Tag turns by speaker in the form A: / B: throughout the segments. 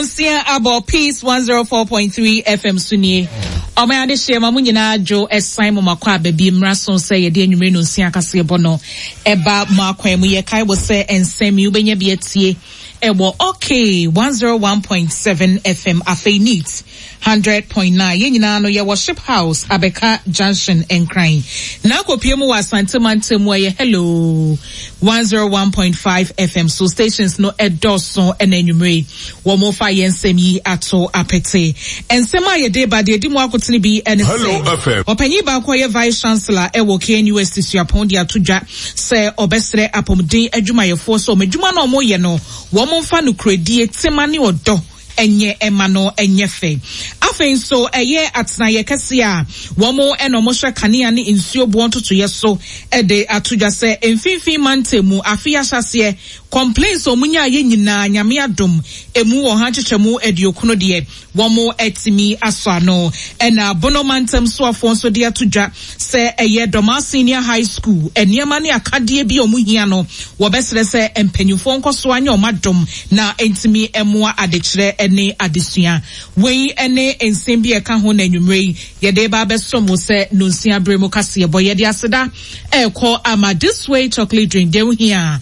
A: Nonsia abɔ Peace 104.3 FM so nie. Ɔman adehyeɛ ma mo nyinaa dwo ɛsan mo makɔ aba bi mmra so sɛ yɛde anwummere nonsia kaseɛbɔ no ɛba mo akwan mu. Yɛkae wo sɛ nsɛm yi wobɛnya bi atie ɛwɔ OK 101.7 FM afei neat 100.9. Yɛn nyinaa no yɛwɔ Ship House Abɛka Junction Nkran. Na akɔpie mu wɔ Asante mantam mu ɛyɛ Hello 101.5 FM so stations no ɛdɔɔso ɛna anwummere yi wɔn fa yɛn nsɛm yi ato apete. Nsɛm a yɛde ba deɛ ɛdi mu akotene bi ɛne sɛ ɔpanyin baako a ɔyɛ Vice Chancellor ɛwɔ KNUST Suapɔn de ato dwa sɛ ɔbɛsrɛ apɔmuden adwumayɛfoɔ sɛ wɔn adwuma no a wɔyɛ no wɔn mfa nokorɛdie, tema ne ɔdɔ nyɛ ɛma no nyɛ fɛ. Afei nso ɛyɛ atenaeɛ kɛseɛ a wɔn na wɔhwɛ kanea ne nsuo boɔ ntotoeɛ so de ato dwa sɛ mfimfini mantam mu afe yi ahyɛaseɛ complaints a wɔn nyaeɛ nyinaa Nyame adom ɛmu ɔha nkyekyɛmu aduokron deɛ wɔn atumi asɔ ano. Ɛna Bono mantam soafoɔ nso de ato dwa sɛ ɛyɛ Dormaa Senior High School nneɛma ne akadeɛ bi a wɔn hia no wɔbɛsrɛ sɛ mpanyinfoɔ nkɔ so anyɛ wɔn adom na ɛntumi mmoa adekyerɛ ne adesua. Wei ne nsɛm bi a ɛka ho na anwummerɛ yi yɛde reba abɛsom wo sɛ nonsia berɛ mu kaseɛbɔ. Yɛde aseda ɛrekɔ ama This Way Chocolate Drink, deɛ wohia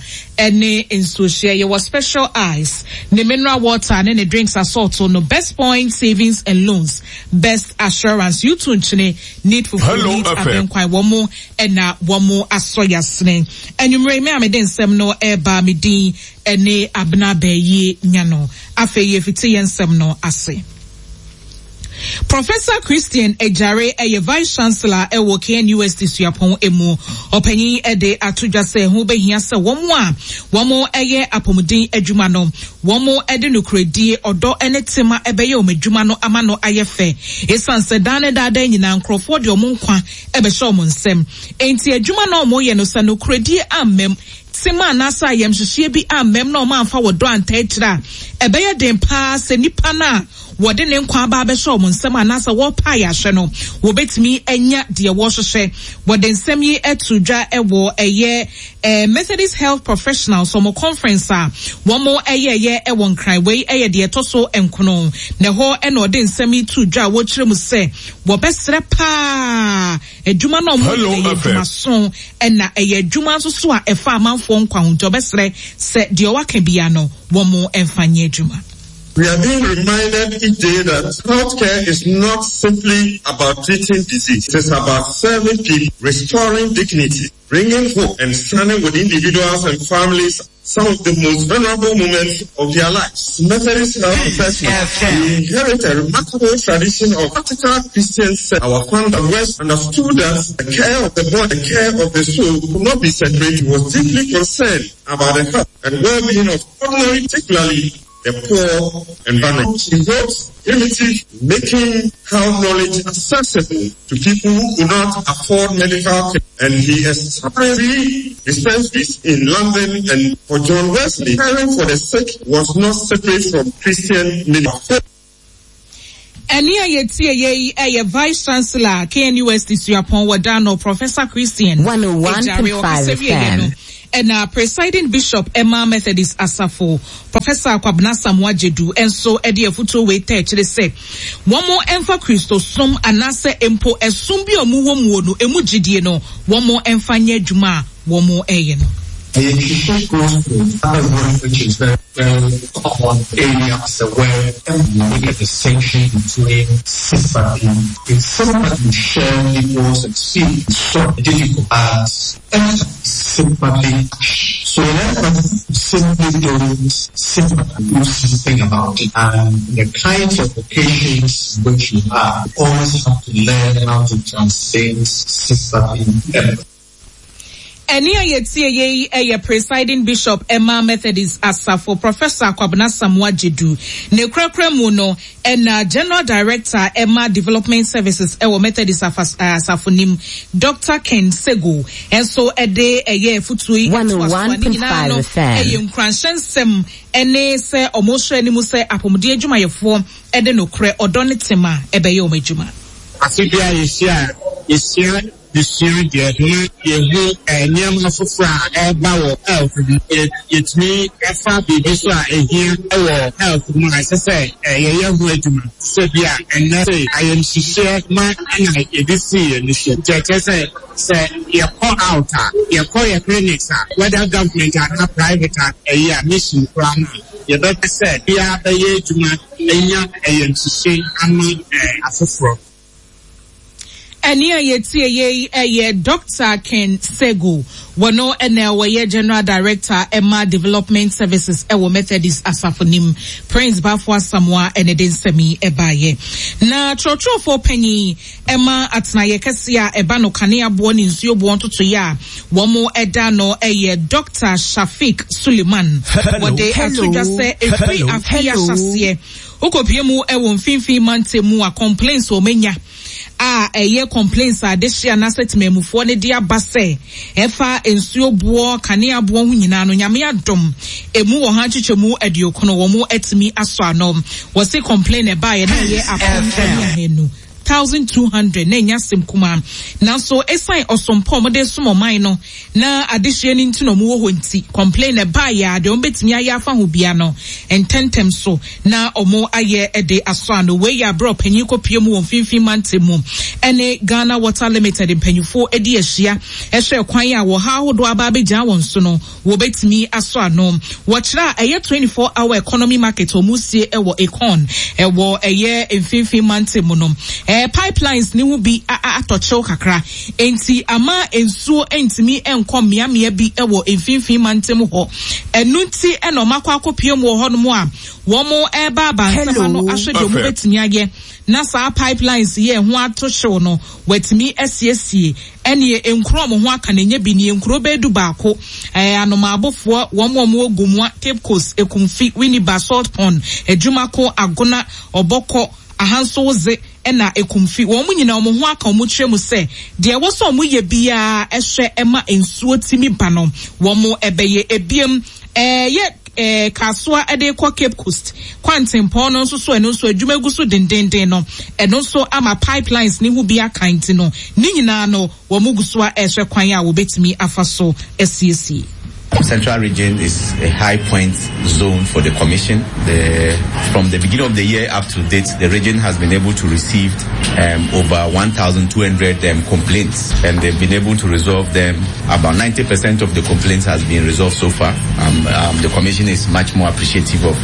A: ne nsuohyeɛ. Yɛwɔ Special Ice, ne mineral water ne ne drinks asɔɔto no, Best Point Savings and Loans, Best Assurance, U2 nkyene, Need fufuo, Need abɛnkwan, wɔn na wɔn asɔ yasene. Anwummerɛ yi me a mede nsɛm no reba me din ne Abena Bɛɛyie Nyano. Afei yɛfiti yɛn nsɛm no ase. Professor Christian Agyare yɛ Vice Chancellor wɔ KNUST Suapɔn mu. Ɔpanyin de ato dwa sɛ ɛho bɛhia sɛ wɔn a wɔyɛ apɔmuden adwuma no, wɔde nokorɛdie, ɔdɔ ne tema bɛyɛ wɔn adwuma no ama no ayɛ fɛ. Esiane sɛ daa ne daadaa nyinaa nkurɔfoɔ de wɔn nkwa bɛhyɛ wɔn nsam nti, adwuma no a wɔyɛ no, sɛ nokorɛdie ammam, tema anaasɛ ayamhyehyeɛ bi ammam na wɔamfa ɔdɔ antaa akyire a, ɛbɛyɛ den paa sɛ nipa no a wɔde ne nkwa aba abɛhyɛ wɔn nsam anaasɛ wɔrepa ayɛ no, wɔbɛtumi anya deɛ wɔrehwehwɛ. Wɔde nsɛm yi to dwa wɔ ɛyɛ eh, Methodist Health Professionals wɔn conference a wɔn ɛyɛɛyɛ wɔ Nkran. Wei ɛyɛ deɛ ɛtɔ so nkono. Na ɛhɔ ɛna ɔde nsɛm yi to dwa a wɔkyerɛ mu sɛ wɔbɛsrɛ paa adwuma no a wɔyɛ no yɛ adwumaso ɛna ɛyɛ adwuma nso so a ɛfa amanfoɔ nkwa ho nti ɔbɛsrɛ sɛ deɛ ɔwaka bia no wɔn mfa nyɛ adwuma.
B: We are being reminded each day that healthcare is not simply about treating disease. It is about serving people, restoring dignity, bringing hope and standing with individuals and families some of the most vulnerable moments of their lives. Methodist Health Professionals, we inherit a remarkable tradition of practical Christian service. Our founder West understood that the care of the body, the care of the soul could not be separated. He was deeply concerned about the health and well-being of ordinary, particularly the poor and vulnerable. He wrote primitive, making health knowledge accessible to people who could not afford medical care. And he established three dispensaries in London. And for John Wesley, caring for the sick was not separate from Christian ministry.
A: Ɛnne a yɛtieeɛ yi yɛ Vice Chancellor, KNUST Suapɔn wɔ Dano, Professor Christian Agyare. Ɔkasa wieeɛ no, ɛna Presiding Bishop ma Methodist Asafo, Professor Kwabena Asamoah Gyedu nso de afutuo wei taa akyire sɛ wɔn mfa Kristosom anaasɛ mpo ɛsom bi a wɔwɔ muo no ɛmu gyidie no wɔn mfa nyɛ adwuma a wɔn reyɛ no.
C: The Ntwitwi goes to another word which is very very common area as a word and we make a distinction between sympathy. In sympathy you share people's experience so difficult as empathy sympathy So in empathy you simply don't sympathy do something about it and the kinds of occasions in which you are you always have to learn how to translate sympathy to empathy.
A: Ɛnne a yɛtieeɛ yi yɛ Presiding Bishop ma Methodist Asafo, Professor Kwabena Asamoah Gyedu. Ne korakora mu no, ɛna General Director ma Development Services wɔ Methodist Asafo no mu, Doctor Ken Sego nso de ɛyɛ afutuo yi toa so a ne nyinaa no yɛ nkuranhyɛ nsɛm ne sɛ wɔhwɛ anim sɛ apɔmuden adwumayɛfoɔ de nokorɛ, ɔdɔ ne tema bɛyɛ wɔn adwuma.
D: Afe biara yɛhyia a, yɛsua. Yɛsua deɛ na yɛhu nneɛma foforɔ a ɛreba wɔ health mu. Yɛtumi fa biribi nso a ɛhia wɔ health mu a ɛsɛ sɛ yɛyɛ ho adwuma. Te sɛ bi a ɛnnɛ sei ayamhyehyeɛ ma na yɛde sii yɛn ani so. Nti ɛkyerɛ sɛ sɛ yɛkɔ out a, yɛkɔ yɛ clinics a, whether government anaa private a, ɛyi a mission koraa no a, yɛbɛpɛ sɛ biara bɛyɛ adwuma anya ayamhyehye ama afoforɔ.
A: Ɛnne a yɛtie yei yɛ Dɔkta Ken Sego. Wɔno na ɔyɛ General Director ma Development Services wɔ Methodist asafo no mu. Prince Bafo Asamoah na ɛde nsɛm yi baeɛ. Na twerɛtwerɛfoɔ panyin ma atenaeɛ kɛseɛ a ɛba no kanea boɔ ne nsuo boɔ ntotoeɛ a wɔda ano yɛ Dɔkta Shafiq Suleiman. Wɔde ato dwa sɛ ɛfiri afe yi ahyɛaseɛ Wokɔpue mu wɔ mfinfin mantam mu a complaints wɔn anya a ɛyɛ complaints a adehye anaasɛ temanmufoɔ no de aba sɛ ɛfa nsuo boɔ, kanea boɔ ho nyinaa no Nyame adom ɛmu wɔ ha nkyekyɛmu aduokono wɔn atumi asɔ ano. Wɔse complain ɛbaeɛ na ɛyɛ 1200. 1,200 na ɛnyɛ asɛm kumaa. Nanso ɛsiane ɔsom pa a wɔde resom ɔman no na adehyeɛ no nti na wɔwɔ hɔ nti, complain na ɛbaeɛ a deɛ wɔbɛtumi ayɛ afa ho biara no ntɛntɛm so na wɔayɛ de asɔ ano. Wei yɛ aberɛ a ɔpanyin kɔpue mu wɔ mfimfini mantam mu ne Ghana Water Limited mpanyinfoɔ di ahyia hwɛ kwan a wɔhaw ahodoɔ aba abɛgyina wɔn so no wɔbɛtumi asɔ ano. Wɔkyerɛ a ɛyɛ 24 hour economy market a wɔresie wɔ Akon wɔ ɛyɛ mfinfin mantam mu no, ɛɛ pipelines no ho bi atɔ kyew kakra enti ama nsuo ntumi nkɔ mmeammea bi wɔ mfinfin mantam hɔ. Ɛno nti na wɔakɔ akɔpue mu wɔ hɔnom a wɔreba aba nsɛm ano ahwɛ deɛ wɔbɛtumi ayɛ na saa pipelines yi a ɛho ato hyew no wɔatumi asiesie. Ɛneɛ nkuro a wɔn ho aka no ɛnyɛ bi nie, nkuro bɛyɛ dubaako, ɛɛ Anomaabofoɔ, wɔn a wɔwɔ Gomoa, Cape Coast, Ekumfi, Winneba, Salt Pond, Adwumako, Agona, Ɔbɔkɔ, Ahansowodze ɛna Ekumfi. Wɔn nyinaa wɔn ho aka wɔn kyerɛ mu sɛ deɛ ɛwɔ sɛ wɔyɛ biara ɛhwɛ ɛma nsuo tumi ba no wɔn ɛbɛyɛ. Ebiem ɛɛ yɛ Kasoa de rekɔ Cape Coast kwantempɔn no nso so ɛno nso adwuma gu so dendeenden no, ɛno nso ama pipelines no ho bi aka nti no, ne nyinaa no wɔn gu so a ɛrehwɛ kwan a wɔbɛtumi afa so asiesie.
E: Central region is a high point zone for the commission. The, from the beginning of the year up to date, the region has been able to receive um, over 1,200 um, complaints and they've been able to resolve them. About 90% of the complaints has been resolved so far. Um, um, the commission is much more appreciative of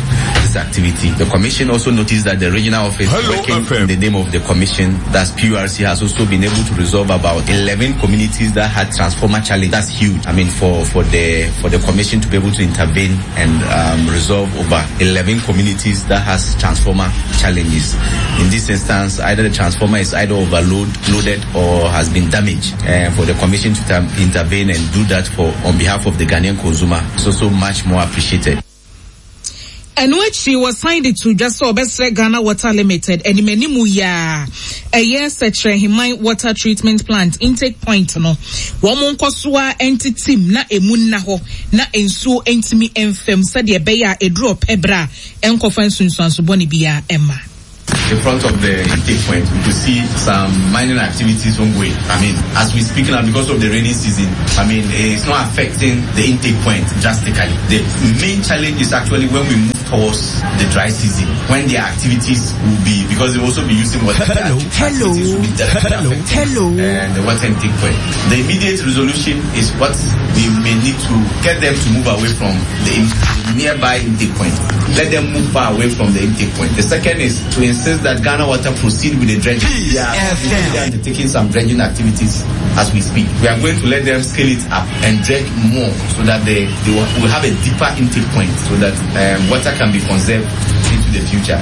E: this activity. The commission also noticed that the regional office Hello, working FM. in the name of the commission, that's PURC, has also been able to resolve about 11 communities that had transformer challenge. That's huge. I mean, for, for the for the commission to be able to intervene and um, resolve over 11 communities that has transformer challenges. In this instance, either the transformer is either overload loaded or has been damaged. And for the commission to intervene and do that for on behalf of the Ghanaian consumer, so so much more appreciated.
A: Ɛno akyi wɔsan de too dwa sɛ wɔbɛsrɛ Ghana Water Limited animanimu yi ara ɛyɛ Sɛkyerɛheman Water Treatment Plant intake point no wɔn nkɔ so ara ntetem na emu nna hɔ na nsuo ntumi mfa mu sɛdeɛ ɛbɛyɛ a ɛduru ɔpɛ berɛ a ɛnkɔfa nsunsuanso bɔne biara mma.
E: In front of the intake point, we could see some mining activities ongoing. I mean, as we speak now, because of the rainy season, I mean, it's not affecting the intake point drastically. The main challenge is actually when we move towards the dry season, when the activities will be, because they will also be using water.
F: Hello, hello, hello, hello.
E: And the water intake point. The immediate resolution is what we may need to get them to move away from the nearby intake point. Let them move far away from the intake point. The second is to insist that Ghana Water proceed with the dredging. They are undertaking some dredging activities as we speak. We are going to let them scale it up and dredge more so that they, they will, will have a deeper intake point so that um, water can be conserved into the future.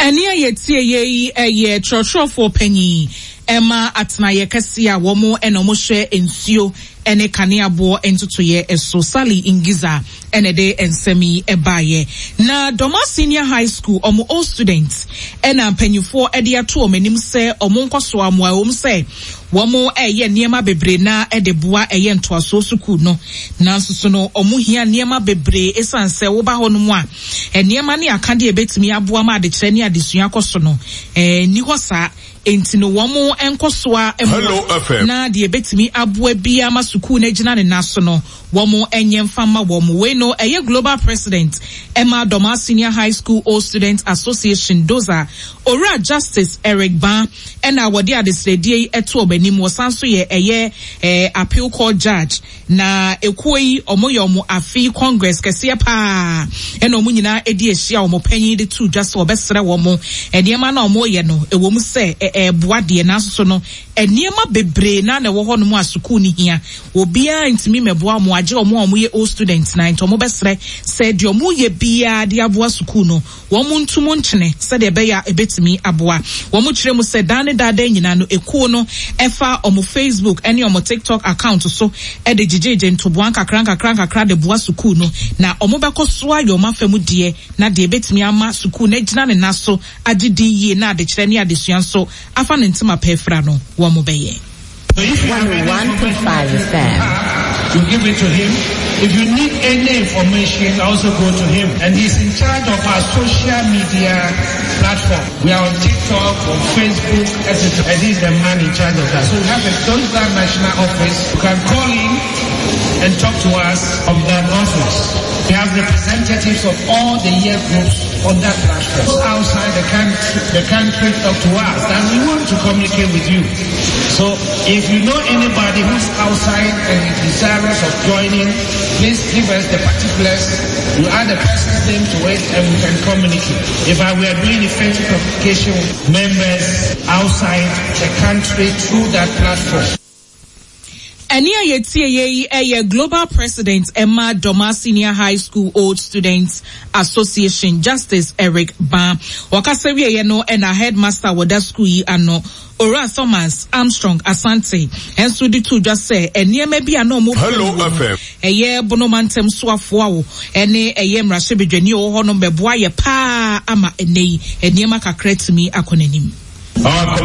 A: Ɛnne a yɛtie yɛ yi yɛ kyerɛkyerɛfoɔ panyin ɛma atenaeɛ kɛseɛ a wɔn na wɔhwɛ nsuo ne kanea boɔ ntotoeɛ so, Sally Ngiza na ɛde nsɛm yi baeɛ. Na Dormaa Senior High School wɔn old students na mpanyinfoɔ de ato wɔn anim sɛ wɔn nkɔsoa mmoa ɛwom sɛ wɔn reyɛ nneɛma bebree na de boa ɛyɛ ntoasoɔ sukuu no nanso so no wɔn hia nneɛma bebree esan sɛ woba hɔ nom a nneɛma ne akadeɛ a ebetumi aboa ma adekyerɛ ne adesua akɔ so no nni hɔ saa. Enti no wɔn nkɔsoa mmoa na deɛ ɛbɛtumi aboa biara ma sukuu no agyina ne nan so no, wɔn nyɛ mfa mma wɔn. Wei no ɛyɛ Global President ɛma Dormaa Senior High School Old Students Association, DOSA, Owura Justice Eric Baa ɛna wɔde adesrɛdeɛ yi ɛto wɔn anim. Wɔsan nso yɛ ɛyɛ Appeal Court Judge. Na ekuo yi wɔn yɛ wɔn afe yi congress kɛseɛ paa ɛna wɔn nyinaa ɛdi ahyia wɔn panyin de to dwa sɛ wɔbɛsrɛ wɔn nneɛma no a wɔyɛ no ɛwɔ mu sɛ ɛɛboa deɛ nanso so no nneɛma bebree na na ɛwɔ hɔ nom a sukuu no hia obiara ntumi mɛboa wɔn agye wɔn a wɔyɛ old students na nti wɔn bɛsrɛ sɛ deɛ wɔn yɛ biara de aboa sukuu no Wɔn nto mu nkyene sɛdeɛ ɛbɛyɛ a ɛbɛtumi aboa. Wɔkyerɛ mu sɛ daa ne daa daa nyinaa no ekuo no fa wɔn Facebook ne wɔn TikTok account so de gyegyeegye ntoboa nkakra nkakra nkakra de boa sukuu no na wɔbɛkɔ so ayɛ wɔn afa mu deɛ na deɛ ɛbɛtumi ama sukuu no agyina ne nan so agye din yie na adekyerɛ ne adesua nso afa ne ntoma pa afira no wɔbɛyɛ.
G: 101.5 FM.
H: You give it to him. If you need any information, also go to him. And he's in charge of our social media platform. We are on TikTok, on Facebook, etc. And he's the man in charge of that. So we have a Donza National Office. You can call him and talk to us of that office. We have representatives of all the year groups on that platform. Outside the country, the country talk to us that we want to communicate with you. So if you know anybody who's outside and is desirous of joining, please give us the particulars. You add the person's name to it and we can communicate. If I were doing effective communication with members outside the country through that platform.
A: Ɛnne a yɛtieeɛ yi yɛ Global President ma Dormaa Senior High School Old Students Association, Justice Eric Baa. Ɔkasa wieeɛ no na Headmaster a wɔda sukuu yi ano, Owura Thomas Armstrong Asante nso de too dwa sɛ nneɛma bi a na wɔpɛ
B: Hello
A: wɔ mu,
B: FM.
A: ɛyɛ Bono mantam soafoɔ a wɔ ne ɛyɛ mmarahyɛbadwani a ɔwɔ hɔnom bɛboa yɛ paa ama ɛnnɛ yi nneɛma kakra atumi akɔ n'anim.
H: Our.